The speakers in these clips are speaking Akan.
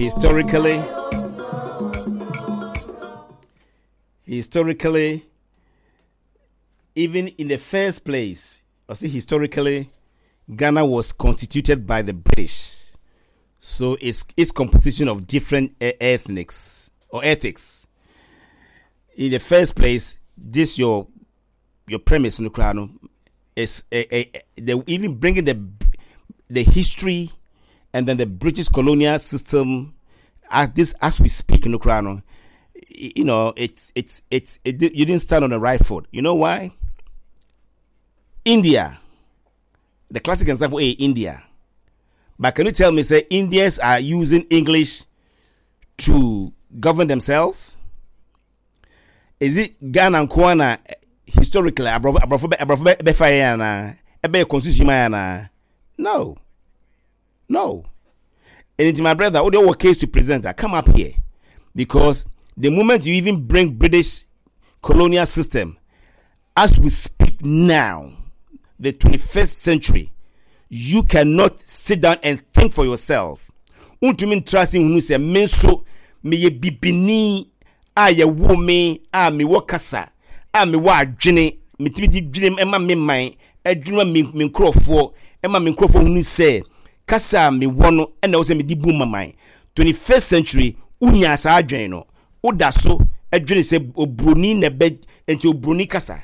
Historically, historically, even in the first place, I see historically, Ghana was constituted by the British. So it's, it's composition of different ethnics or ethics. In the first place, this your your premise in the crown is a, a, they even bringing the the history and then the British colonial system as this as we speak in the crown you know it's it's it's it, you didn't stand on the right foot you know why India the classic example is India but can you tell me say Indians are using English to govern themselves Is it Ghana nko ara na historically aborɔfo aborɔfo bɛ aborɔfo bɛ bɛfa yɛn anaa ɛbɛyɛ constitution ma yɛn anaa? No, no. And my brother, what your case to present? I come up here because the moment you even bring British colonial system, as we speak now, the 21st century, you cannot sit down and think for yourself. Wontumi ntra ase nhunu sɛ me nso meyɛ bibini a yɛwoo me a mewɔ kasa a mewɔ adwene metumi de dwene ma me man adwene ma me me nkurɔfoɔ ɛma me nkurɔfoɔ hunu sɛ kasa a mewɔ no ɛna ɛwɔ sɛ mede bu ma man 21st century wonya saa adwene no woda so dwene sɛ oburoni na ɛbɛ nti oburoni kasa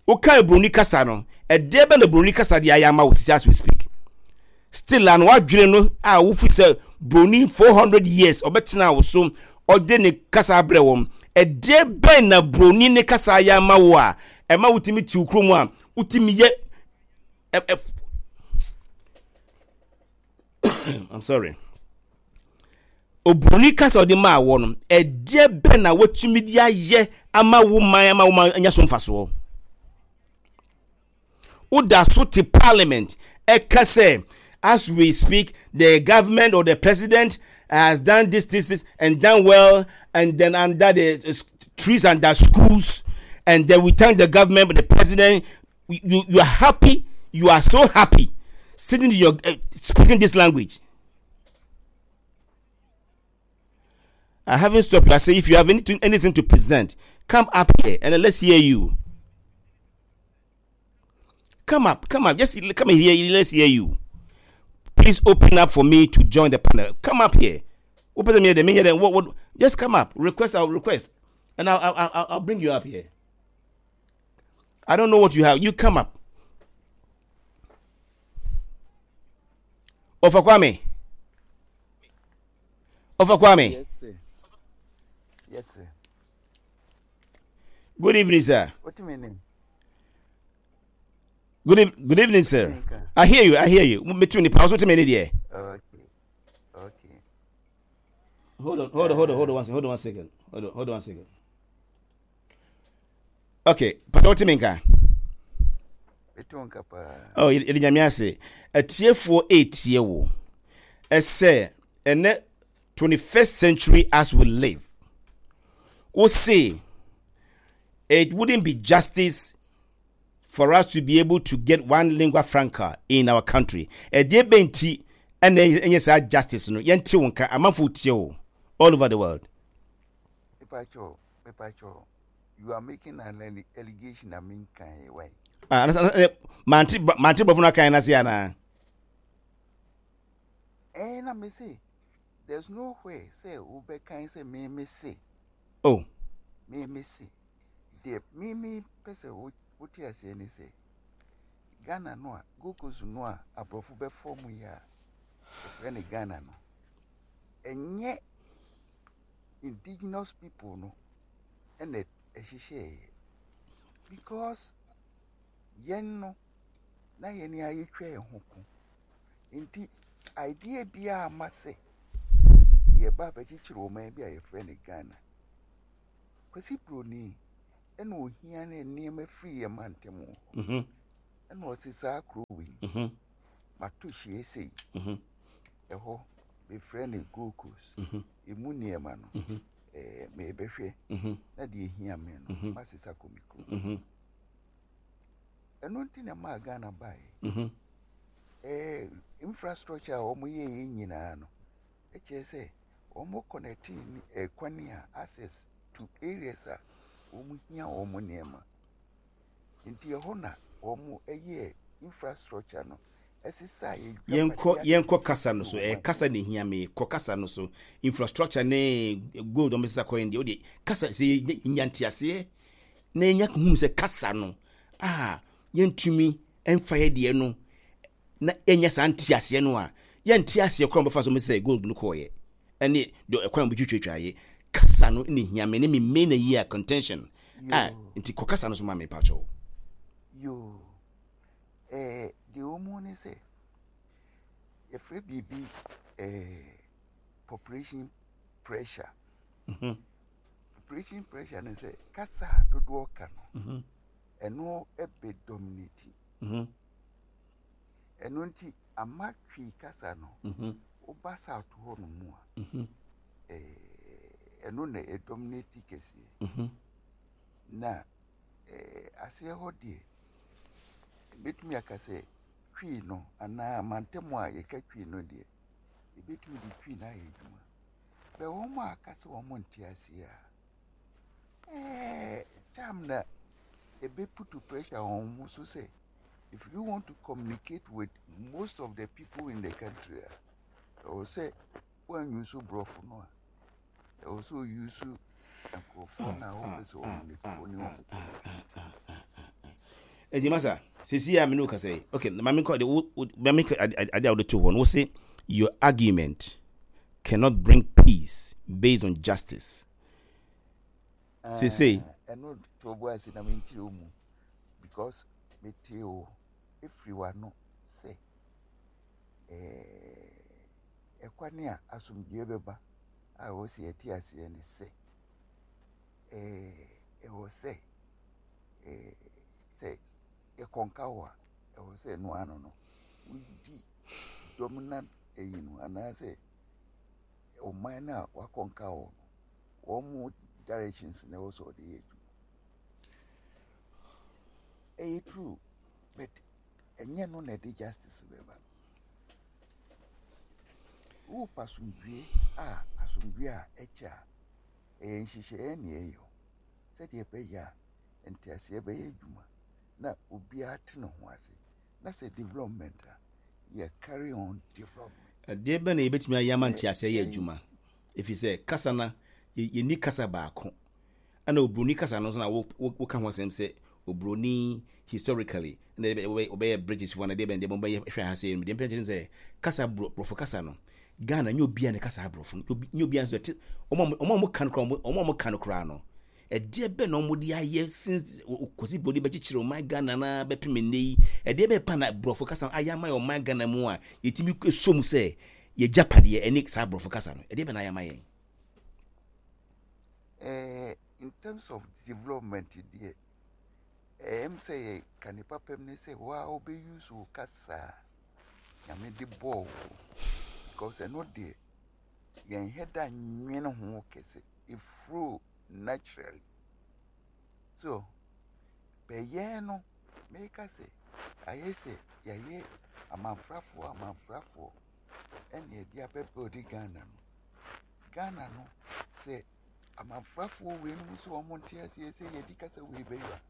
woka oburoni kasa no ɛdeɛ bɛ na oburoni kasa de ayɛ ama wo sisi as we speak still ano wadwene no a wofi sɛ buroni 400 years ɔbɛtena wo so ɔde ne kasa abrɛ wɔn ɛdeɛ bɛn na buroni ne kasa ayɛ ama wo a ɛma wotumi te wo kurom a wotumi yɛ ɛ I'm sorry. Oburoni kasa ɔde maa wɔ no, ɛdeɛ bɛn na watumi de ayɛ ama wo man ama wo man anya so mfasoɔ? Woda so te parliament ɛka sɛ as we speak the government or the president has done this this this and done well and then under the trees and the schools and then we thank the government the president you you are happy you are so happy sitting in your uh, speaking this language I haven't stopped you. I say, if you have anything, anything to present, come up here and let's hear you. Come up, come up, just come here. Let's hear you. Please open up for me to join the panel. Come up here. Open me the what, what, just come up. Request, I'll request, and I'll, I'll, I'll, I'll bring you up here. I don't know what you have. You come up. Ofa Kwame. Ofa Kwame. Yes, sir. Yes, sir. Good evening, sir. What do you mean? Good, e good evening, sir. I hear you. I hear you. Me too. Nipa. Also, me there. Okay. Okay. Hold on. Hold on. Hold on. Hold on one second. Hold on one second. Hold on. Hold on one second. Okay. Pata wote me nka? Meto nka paa. Oh, yɛde nyame ase. Atiefoɔ ɛretie wo. Ɛsɛ ɛnɛ 21st century as we live. Wo se it wouldn't be justice for us to be able to get one lingua franca in our country. Ɛdeɛ bɛn nti ɛna ɛnyɛ saa justice no yɛnte wo nka amanfoɔ tie wo all over the world. Mepacho, mepacho, you are making an allegation na menkan why? Ah, mante mante brɔfo no akan no ase anaa? Eh, na me se there's no way sɛ wobɛkan sɛ me me se. Oh. Me me se. Deɛ me me pɛ sɛ wote aseɛ ne sɛ Ghana no a Gold Coast no a aborɔfo bɛfɔ mu yi a yɛfrɛ no Ghana no ɛnyɛ indigenous people no ɛna ɛhyehyɛeɛ because yɛn no na yɛn a yɛtwa yɛn ho ko nti idea biara ma sɛ yɛba abɛkyekyere ɔman bi a yɛfrɛ no Ghana. Kwasi Broni ɛna ohia ne nneɛma firi yɛn mantam hɔ mhm. ɛna ɔse saa kuro wei mhm. mato hyie sei mhm. ɛhɔ mefrɛ no Gold Coast ɛmu nneɛma no ɛɛ mebɛhwɛ na deɛ ehia me no masesa kɔ me kurom ɛno nti na ɛmaa Ghana baeɛ ɛɛ infrastructure a wɔyɛeɛ nyinaa no. Ɛkyerɛ sɛ wɔn connecte ɛkwan a access to areas a wɔn hia wɔn nneɛma. Nti ɛhɔ na wɔn yɛɛ infrastructure no ɛsesaa yɛ Yɛnkɔ yɛnkɔ kasa no so. Ɛyɛ kasa na ehia me. Kɔ kasa no so. Infrastructure ne gold wɔn bɛsesa kɔ yɛn deɛ o deɛ kasa sɛ yɛnya nteaseɛ na yɛnya hunu sɛ kasa no a yɛntumi mfa yɛ deɛ no na yɛnya saa nteaseɛ no a yɛnte aseɛ koraa wɔbɛfa so wɔbɛsesa gold no kɔɔyɛ ɛne deɛ ɛkwan wɔbɛtwitwatwa yɛ kasa no na ehia me ne me main ayi a contention a nti kɔ kasa no so ma me pakyɛw. Yoo. Ɛɛ, deɛ ɛwɔ mu ne sɛ, yɛfrɛ biribi ɛɛ population pressure. Mhm. Population pressure ne sɛ kasa a dodoɔ ka no, mhm. ɛno bɛ dominate. Mhm. Ɛno nti ama Twi kasa no, woba South hɔ no mu a, ɛɛ ɛno na ɛdominate kɛseɛ. Na ɛɛ aseɛ hɔ deɛ, Mɛtumi aka sɛ Twi no anaa mantam a yɛka Twi no deɛ, yɛbɛtumi de Twi no ayɛ adwuma. Bɛ wɔn a aka sɛ wɔn nte aseɛ a, ɛɛ time na ɛbɛputu pressure wɔn ho so sɛ if you want to communicate with most of the people in the country a, ɛwɔ sɛ woanyi so borɔfo no a, Ɛwɔ sɛ ɔyusu nkurɔfoɔ no a wopɛ sɛ wɔn ne wɔne wɔn kɔ. Ɛdi masa sisi a mene wo kasa yi okay ma menkɔ de wo ma menkɔ ade a wode to hɔ no wo se your argument cannot bring peace based on justice sese. Ɛno to bo ase na menkyerɛ wo mu because metee wo ɛfiri w'ano sɛ ɛɛ Ɛkwan a asomdwoeɛ bɛba a ɛwɔ sɛ yɛte aseɛ ne sɛ, ɛwɔ sɛ sɛ yɛkɔnka wo a, ɛwɔ sɛ ɛno ano no, wodi dominant ɛyi no anaasɛ ɔman no a wakɔnka wɔ no, wɔn mu directions na ɛwɔ sɛ ɔde yɛ adwuma. Ɛyɛ true, but ɛnyɛ no na ɛde justice bɛba. Worepɛ asomdwoeɛ a, asomdwoeɛ a ɛkyɛ a, ɛyɛ nhyehyɛeɛ na yɛyɛ sɛdeɛ ɛbɛyɛ a nteaseɛ bɛyɛ adwuma na obiara te ne ho ase. Na sɛ development a, yɛ carry on development. Ɛdeɛ bɛn na yɛbɛtumi ayɛ ama nteaseɛ ayɛ adwuma? Ɛfiri sɛ kasa no, yɛnni kasa baako. Ɛna obroni kasa no nso na woka ho asɛm sɛ obroni historically ɛna wɔbɛyɛ British foɔ na deɛ bɛn deɛ bɛn bɛyɛ hwɛ ha sɛ deɛ mpɛ kyerɛ sɛ kasa borɔfo kasa no Ghana nyɛ obiara na kasa aborɔfo no nyɛ obiara nso ɛte wɔn a wɔn ka no koraa wɔn a wɔn ka no koraa no ɛdeɛ bɛn na wɔn de ayɛ since Kwasi Broni bɛkyekyere ɔman Ghana na bɛpem nnɛ yi ɛdeɛ bɛn pa na borɔfo kasa ayɛ ama yɛ ɔman Ghana mu a yɛtumi so mu sɛ yɛgyapadeɛ ɛne saa borɔfo kasa no ɛdeɛ bɛn na ayɛ ama yɛn. Eh, in terms of development deɛ, ɛyɛ m sɛ yɛ ka ne papam ne sɛ wo a wobɛ use wo kasa a Nyame de bɔɔ wo because ɛno deɛ yɛn hɛ da nwene ho kɛse, it flow naturally. So, bɛ yɛn no, meka sɛ ayɛ sɛ yɛayɛ amanfrafoɔ amanfrafoɔ ɛna yɛde abɛ build Ghana no. Ghana no, sɛ amanfrafoɔ weinom sɛ wɔn nte aseɛ sɛ yɛdi kasa wei bɛyɛ a,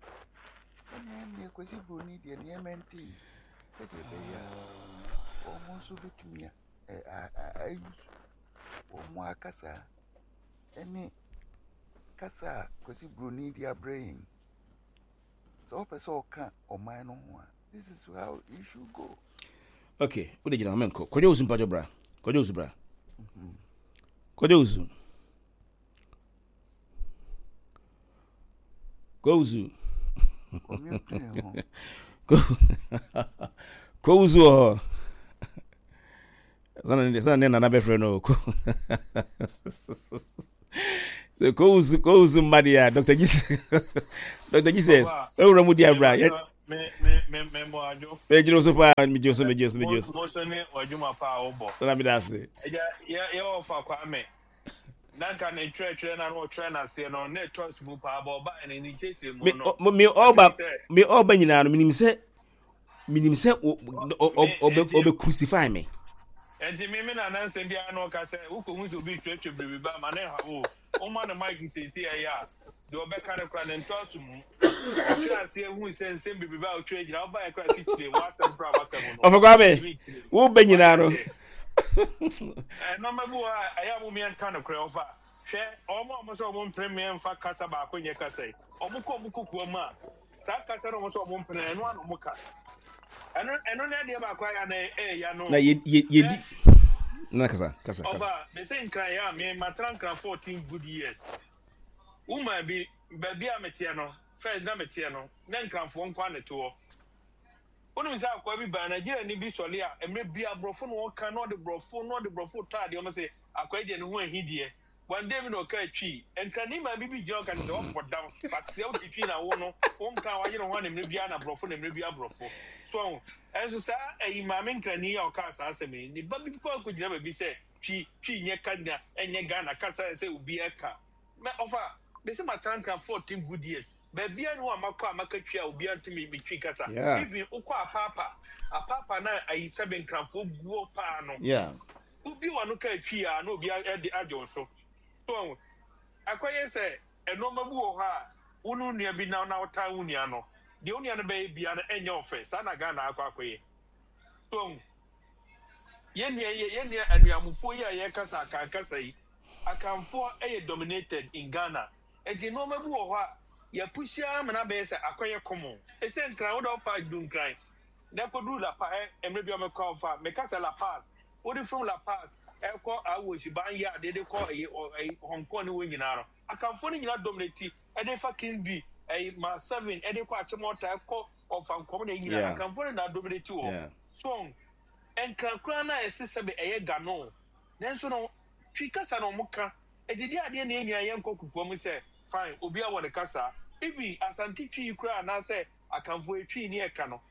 ɛnna ɛnneɛ Kwasi Broni deɛ nneɛma nte yi sɛdeɛ ɛbɛyɛ a wɔn nso bɛtumi ayi wɔn akasa ne kasa a Kwasi Broni de abrɛ yɛn. Sɛ wopɛ sɛ ɔka ɔman no ho a, this is how you should go. Okay, wode gyina hɔ menkɔ. Kwadwo Owusu mpakyɛ bra. Kwadwo Owusu bra. Kwadwo Owusu. Kwadwo Owusu. Kwadwo Owusu wɔ hɔ. Sana ne nana bɛfrɛ no ko. So kowusu kowusu mma deɛ a Dr. Jesus Dr. Jesus ewura mu di abira yɛ. Me me me me bɔ adwo. Me gyina so paa me gyina so me gyina so me gyina so. Mo so ne w'adwuma paa wobɔ. Nana mi da ase. Ɛgya yɛ yɛ ɔfa Kwame. Na nka ne twerɛtwerɛ na no ɔtwerɛ n'aseɛ no na ɛtɔ asu mu paa bɔ ɔbaa ne ne nkyerɛkyerɛ mu no. Me me ɔba me ɔba nyinaa no menim sɛ menim sɛ ɔbɛ crucify me. Enti me me nana nsɛm biara na ɔka sɛ wokɔhu sɛ obi retwerɛtwerɛ biribi ba ma ne nha wo woma no mic seesei ɛyɛ a deɛ ɔbɛka no koraa ne ntɔ aso mu ɔtwerɛ aseɛ hu sɛ nsɛm biribi ba a wotwerɛ gyina wobaeɛ koraa si kyire w'asɛm koraa waka mu no Ɔfɔ Kwame, ntumi nkyire wo bɛ nyinaa wate no. aseɛ nneɛma bi wɔ hɔ a ɛyɛ a mo mmiɛnka nokorɛ ɔfa hwɛ wɔn a wɔn sɛ wɔn mpere mmiɛnfa kasa baako nyɛ kasa yi wɔn kɔ wɔn kokoa mu a Saa kasa no wɔn sɛ wɔn mpene ɛno ano wɔn ka. Ɛno ɛno ne adeɛ baako ayɛ na ɛyɛ no. Na yɛ yɛ yɛdi. Na kasa kasa kasa. Ɔba mese nkran yɛ a me matena nkran 14 good years. Woman bi baabi a meteɛ no first na meteɛ no na nkranfoɔ nko a na ɛte hɔ. Wonim sɛ akoa bi baa Nigeria ni bi sɔle a mmerɛ bi aborɔfo na ɔka na ɔde borɔfo na ɔde borɔfo tɔ adeɛ wɔn sɛ akoa yi deɛ ne ho ahi deɛ. One day bi na ɔkaa Twi. Nkrani maame bi gyina hɔ ka kyerɛ sɛ wabɔ dam, wasɛe wo te Twi na wo no, wonka a wayere ho a na mmerɛ biara na borɔfo na mmerɛ biara borɔfo. So wahu? Ɛnso saa ɛyi maame Nkrani yi a ɔkaa saa asɛm yi, ne ba bi kɔ akɔgyina baabi sɛ Twi, Twi nyɛ ka nya, ɛnyɛ Ghana kasa a ɛsɛ obiara ka. Mɛ ɔfa, mese matena Nkran 14 good years, baabiara nni hɔ a makɔ a maka Twi a obiara nte me, me Twi kasa. Yeah. Even wokɔ Apaapa, Apaapa na ayi sɛbe Nkranfoɔ guɔ paa no. Yeah. Wobue w'ano ka twi a na obi de agye wo so. So wahu? Ɛkɔyɛ sɛ nneɛma bi wɔ hɔ a wo ne wo nua bi nam na wotan wo nua no, deɛ wo nua no bɛyɛ biara no ɛnyɛ wo fɛ. Saa na Ghana akɔ akɔyɛ. So wahu? Yɛn nua yi, yɛn nua anuamofoɔ yi a yɛkasa Akan kasa yi, Akanfoɔ yɛ dominated in Ghana. Nti nneɛma bi wɔ hɔ a yɛapushi ara ma no abɛyɛ sɛ akɔyɛ common. Ɛsɛ Nkran, wo deɛ wopa du Nkran. Na ɛkɔduru La Paz, ɛ, mmerɛ bi a mekɔ fa, meka sɛ La Paz, wode from La Paz ɛkɔ Awosi, Banyard, de kɔ ɛyi, ɔ, ɛyi, Hong Kong ne wɔn nyinaa no, Akanfoɔ no nyinaa dominate, ɛde fa Kingby, ɛyi, Mile 7, ɛde kɔ Achimota, ɛkɔ Ɔfankɔm na nyinaa, Akanfoɔ no nyinaa dominate wɔ hɔ. So wɔn, Nkran koraa no a ɛse sɛbe ɛyɛ Gano, nanso no, Twi kasa na wɔn ka, ɛti deɛ adeɛ na yɛn nyinaa yɛnkɔ kokoa mu sɛ, fine, obiara wɔ ne kasa, even Asante Twi yi koraa anaasɛ Akanfoɔ yɛ Twi ne ɛka no.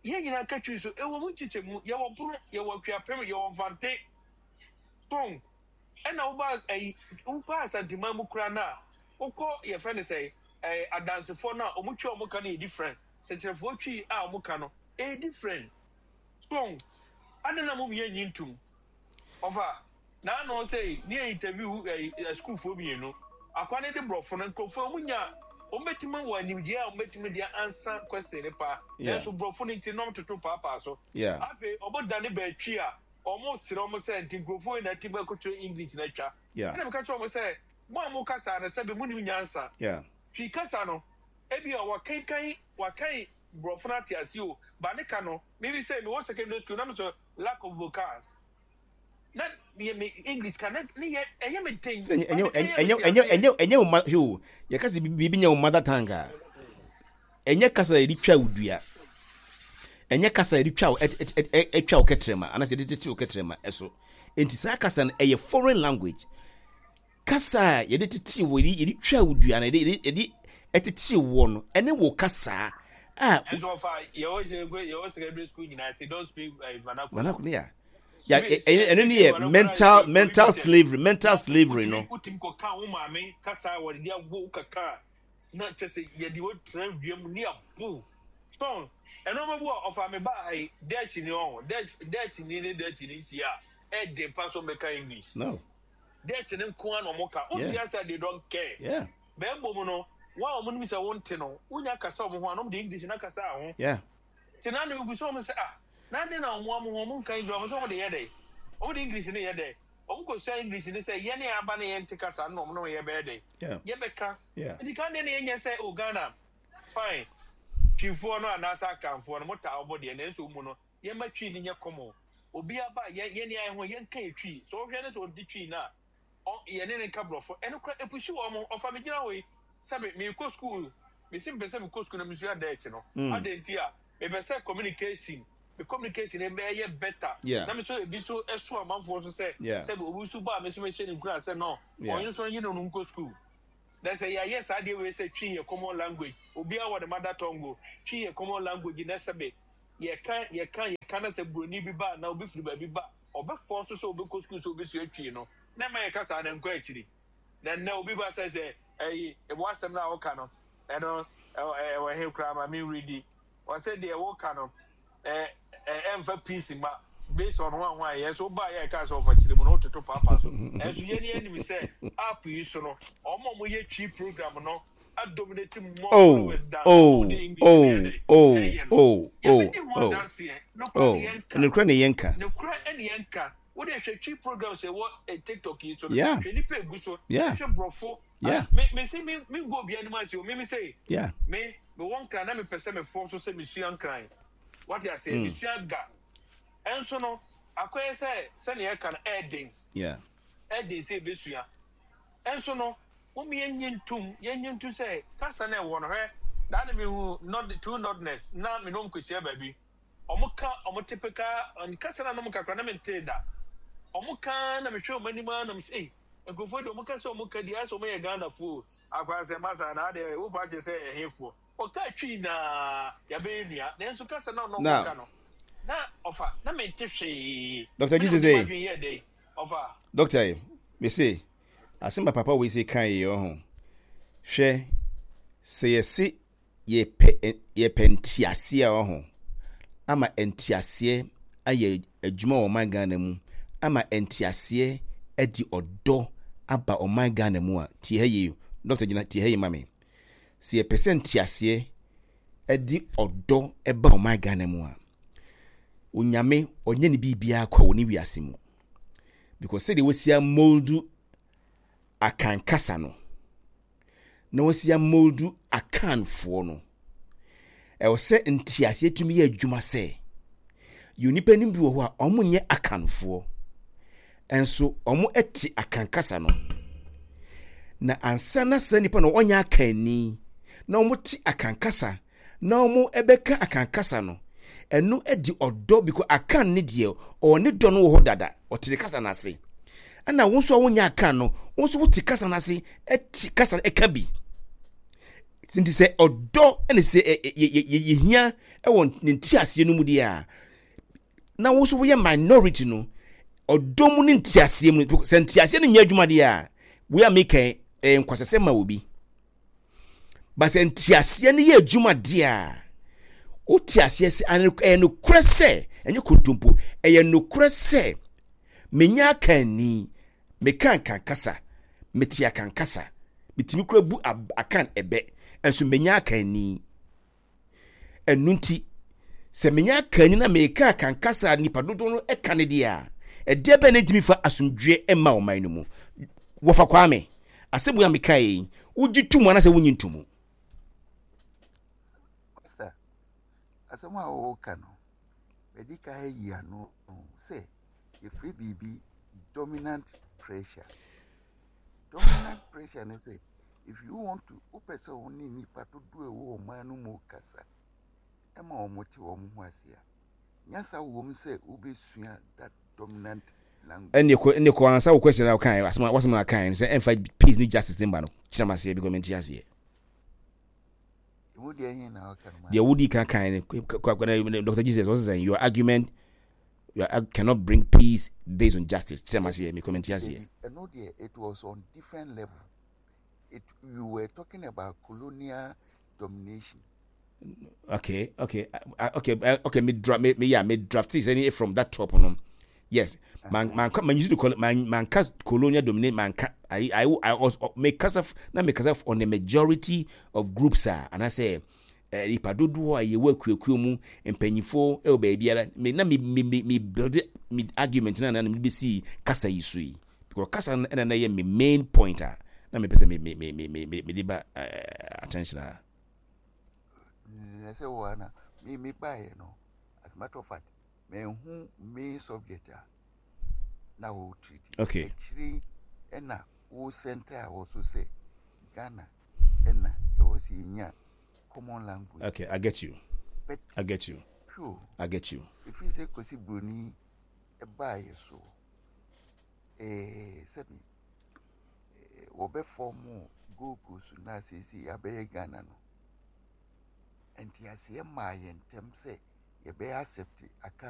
Yɛn nyinaa ka Twi so. Ɛwɔ mu nkyekyɛmu. Yɛwɔ Bono, yɛwɔ Akuapem, yɛwɔ Mfante. Tong. Ɛna woba ɛyi, wokɔ Asanteman mu koraa no a, wokɔ yɛfrɛ no sɛ ɛɛ Adansefoɔ no a, wɔn Twi a wɔn ka no yɛ different. Sɛkyerɛfoɔ Twi a wɔn ka no, ɛyɛ different. Tong. Adɛn na mom yɛn nyi ntom? Ɔfa, n'ano sɛ ne yɛ interview ɛyi asukuufoɔ mmienu. Akwa no de borɔfo no nkurɔfoɔ wɔn nya wɔn bɛtumi wɔ animdeɛ a wɔn bɛtumi de ansa question no paa. Nanso borɔfo no nti na wɔn toto paapaa so. Afei wɔn dane bɛtwi a wɔn srɛ wɔn sɛ nti nkurɔfoɔ yi na ɛte bɛkɔtwerɛ English na atwa. Ɛna meka kyerɛ wɔn sɛ mo a mo kasa no sɛbi mo nim nyansa. Twi kasa no ebi a wɔkenkan wɔakan borɔfo no ate ase o ba ne ka no mimi sɛ mewɔ secondary school na me sɛ lack of vocals na yɛ me english ka na ne yɛ ɛyɛ me den. Sɛ ɛnyɛ ɛnyɛ ɛnyɛ ɛnyɛ ɛnyɛ wo ma hwɛ yɛka sɛ biribi nyɛ wo mother tongue a ɛnyɛ kasa yɛde twa wo dua ɛnyɛ kasa yɛde twa wo ɛtwa wo kɛtrɛma anaasɛ yɛde tete wo kɛtrɛma ɛso nti saa kasa no ɛyɛ foreign language Kasa a yɛde tetee wo, yɛde twaa wo dua no, yɛde yɛde ɛtetee woɔ no, ɛne wo kasa a. Ɛnso ɔfa yɛwɔ yɛwɔ secondary school nyinaa sɛ don't speak eh, vernacular. Vernacular ya. Ya ɛno ne yɛ mental mental slavery mental slavery no. Wotumi kɔ ka wo maame kasa a wɔde awo kaka na kyɛ sɛ yɛde wo tena wiem ne abo. Tɔn ɛno ɔmo bu a ɔfa me ba ha yi Dutch ni ɔho Dutch Dutch ni ne Dutch ni hyia a ɛden pa so mbɛka English. No. Dutch no nko ara na wɔn ka. Wonte ase a they don't care. Yeah. Bɛn mmom no, wɔn a wɔn nim sɛ wonte no, wonya kasa wɔn ho a, na wɔn de English na kasa ho. Yeah. Te na na ebu so wɔn sɛ ah, na ade na wɔn wɔn ho wɔn nka English, wɔn sɛ wɔn de yɛ dɛ. Wɔn de English no yɛ dɛ. Wɔn kɔ sua English no sɛ yɛn ne aba ne yɛn te kasa no na wɔn ne yɛ bɛyɛ dɛ. Yeah. Yɛ bɛka. Yeah. Nti kan de ne yɛn nyɛ sɛ o oh, Ghana fine. Twifoɔ no anaasɛ Akanfoɔ no mo taa wɔn deɛ nanso wɔn mu no Yɛmma Twi no nyɛ common. Obiara ba a, yɛn yɛn yɛn ho yɛnka yɛ Twi. Sɛ ɔhwɛ no sɛ ɔnte Twi no a, ɔ yɛne no nka Borɔfo. Ɛno koraa ɛpushi wɔn. Ɔfa me gyina hɔ yi, sɛbe merekɔ sukuu, mese mepɛ sɛ mekɔ sukuu na mesua Dutch no. Adɛn nti a? Mepɛ sɛ communication, me communication no bɛyɛ better. Yeah. Na me nso ebi nso ɛso amanfoɔ so sɛ, Yeah. sɛbe obi nso ba a me nso mehyɛ no nkuran sɛ no, Yeah. ɔno nso ɔnye no no nkɔ sukuu. Na sɛ yɛayɛ saa adeɛ wei sɛ Twi yɛ common language, obiara wɔ ne mother tongue o, Twi yɛ common language na sɛbe Yɛka, yɛka, yɛka na sɛ buroni bi ba anaa obi firi baabi ba a, ɔbɛfɔɔ so sɛ ɔbɛkɔ sukuu sɛ ɔbɛsua Twi no. Na ɛma yɛka saa no, ɛnkɔ akyiri. Na nnɛ obi ba sɛ, sɛ ɛyi, w'asɛm no a woka no, ɛno, ɛwɔ he koraa ma menredi. Ɔsɛ deɛ woka no, ɛ, ɛ, ɛmfa peace mma. Based on ho a ho a yɛn nso wobaa yɛ ɛkaa sɛ ɔfa kyerɛ mu no wototo paapaa so. Ɛnso yɛn ni anim sɛ app yi so no, wɔn a wɔyɛ Twi program no adominate more Oh, followers than wɔn a oh, wɔde English no oh, yɛ dɛ oh, ɛyɛ no. oh, oh, Yɛbɛdi ho oh, adanseɛ. Nokorɛ oh. ne yɛnka. Nokorɛ ne yɛnka. Nokorɛ ne yɛnka. Wo deɛ hwɛ Twi programs a ɛwɔ eh, TikTok yi so no. Hwɛ nipa egu so. Hwɛ borɔfo. Me me se me me ngu obi anim ase o. Me me se me me wɔ nkran na me pɛ sɛ me fɔ so sɛ me sua nkran. Wate aseɛ? Me sua ga. Ɛnso no akɔyɛ sɛ sɛnea ɛka no ɛɛden. Ɛɛden sɛ ebesua. Ɛnso no mo mo yɛn nye ntum yɛn nye ntum sɛ kasa na ɛwɔ no hwɛ. Daa na me hu nod two nodness na me nom kɔhyia baabi. Ɔmo ka ɔmo typical kasa na nom kakra na me ntee da. Ɔmo ka na mehwɛ ɔmo anim ara na me sɛ ei nkurɔfoɔ yi deɛ ɔmo ka sɛ ɔmo ka di ayɛ sɛ ɔmo yɛ Ghanafoɔ o. Akwa sɛ masa na adeɛ wo pa kyerɛ sɛ ɛhefoɔ. Ɔka Twi na yɛabɛyɛ nua nanso kasa na ɔno Now, ɔka no na ɔfa na mente hwee. Dr. Me na Jesus mede eh, m'adwene yɛɛ dɛn ɔfa. Doctor eh, me se asɛm a papa wei se kan yi ɔho. Hwɛ sɛ yɛse yɛpɛ yɛpɛ nteaseɛ a ɔho ama nteaseɛ ayɛ adwuma wɔ ɔman Ghana mu ama nteaseɛ adi ɔdɔ aba ɔman Ghana mu a tie ha yie Doctor gyina tie ha yie ma me sɛ yɛpɛ sɛ nteaseɛ ɛde ɔdɔ ɛba ɔman Ghana mu a Onyame ɔnyɛ ne biribiara kwa wɔ ne wiase mu because sɛdeɛ wɔsi amoldu Akan kasa no na wɔasi amoldu Akanfoɔ no, ɛwɔ sɛ nteaseɛ tumi yɛ adwuma sɛ yɛ onipa no bi wɔ hɔ a wɔn nyɛ Akanfoɔ nso wɔn te Akan kasa no na ansa na saa nipa no ɔnyɛ Akanni na wɔn te Akan kasa na wɔbɛka Akan kasa no, ɛno de ɔdɔ because Akan ne deɛ ɔwɔ ne dɔ no wɔ hɔ dada, ɔte ne kasa no ase. Ɛna wo nso a wonyɛ Akan no, wo nso wote kasa no ase, ɛte kasa no ɛka bi. Nti sɛ ɔdɔ ɛna sɛ yɛhia ɛwɔ ne nteaseɛ no mu deɛ a, na wo nso woyɛ minority no, ɔdɔ mu ne nteaseɛ mu, sɛ nteaseɛ no nyɛ adwuma deɛ a, wei a meka ɛyɛ nkwasasɛm ma obi. Ba sɛ nteaseɛ no yɛ adwuma deɛ a, wote aseɛ sɛ ɛyɛ nokorɛ sɛ, ɛnyɛ kontompo, ɛyɛ nokorɛ sɛ menya akanni, meka akan kasa, mete akan kasa, metumi kura bu akan ɛbɛ, nso menya akanni. Ɛno nti, sɛ menya akanni na meka akan kasa a nnipa dodoɔ no ka no deɛ a, ɛdeɛ bɛn na ɛntumi fa asomdwoeɛ mma ɔman no mu? Wɔfa Kwame, asɛm wei a mekaeɛ yi, wogye to mu anaasɛ wonnye nto mu? Pastor, asɛm a wɔreka no, madi kan ayi ano sɛ yɛfrɛ biribi dominant pressure. Dominant pressure ne sɛ if you want to wopɛ sɛ wo ne nnipa dodoɔ a ɛwɔ ɔman no mu kasa ɛma wɔn te wɔn ho ase a, nyansa wɔ mu sɛ wobɛsua that dominant language. Ɛnne kɔ ɛnne kɔ ansa wo question na wokae asɛm a wasɛm na kae no sɛ ɛmfa peace ne justice ne mba no kyerɛ m aseɛ because mente aseɛ. Emu deɛ he na ɔka no ma. Deɛ wodi kan kae no Dr. Jesus ɔsɛ sɛ your argument you are, cannot bring peace based on justice. Kyerɛ maseɛ, me comment aseɛ. Ɛno deɛ, it was on different level. It, you were talking about colonial domination. Okay, me draft, me, me yeah, me draft is any from that top no. Yes, man, man, man, use the col, man, man, cast colonial dominate, man, I was me kasa, na me kasa on the majority of groups, ah, and I say, Nnipa dodoɔ a yɛwɔ akuakuo mu, mpanyinfoɔ wɔ baabiara, me na me me me me build me argument na na me bɛsi kasa yi so yi because kasa no ɛna na yɛ me main point a na mepɛ sɛ me me me me me me de ba attention a. Na sɛ wɔ ana me me baeɛ no as a matter of fact manhu main subject a na wɔ treat. Akyire ɛna wo center a wɔ so sɛ Ghana ɛna ɛwɔ sɛ yɛnya common language. Okay, I get you. But I get you. Sure. I get you. Ɛfiri sɛ Kwasi Broni ɛbaa yɛ so sɛbi wɔbɛfɔ mo Gold Coast na seesei abɛyɛ Ghana no nteaseɛ maa yɛn ntɛm sɛ yɛbɛyɛ accept aka.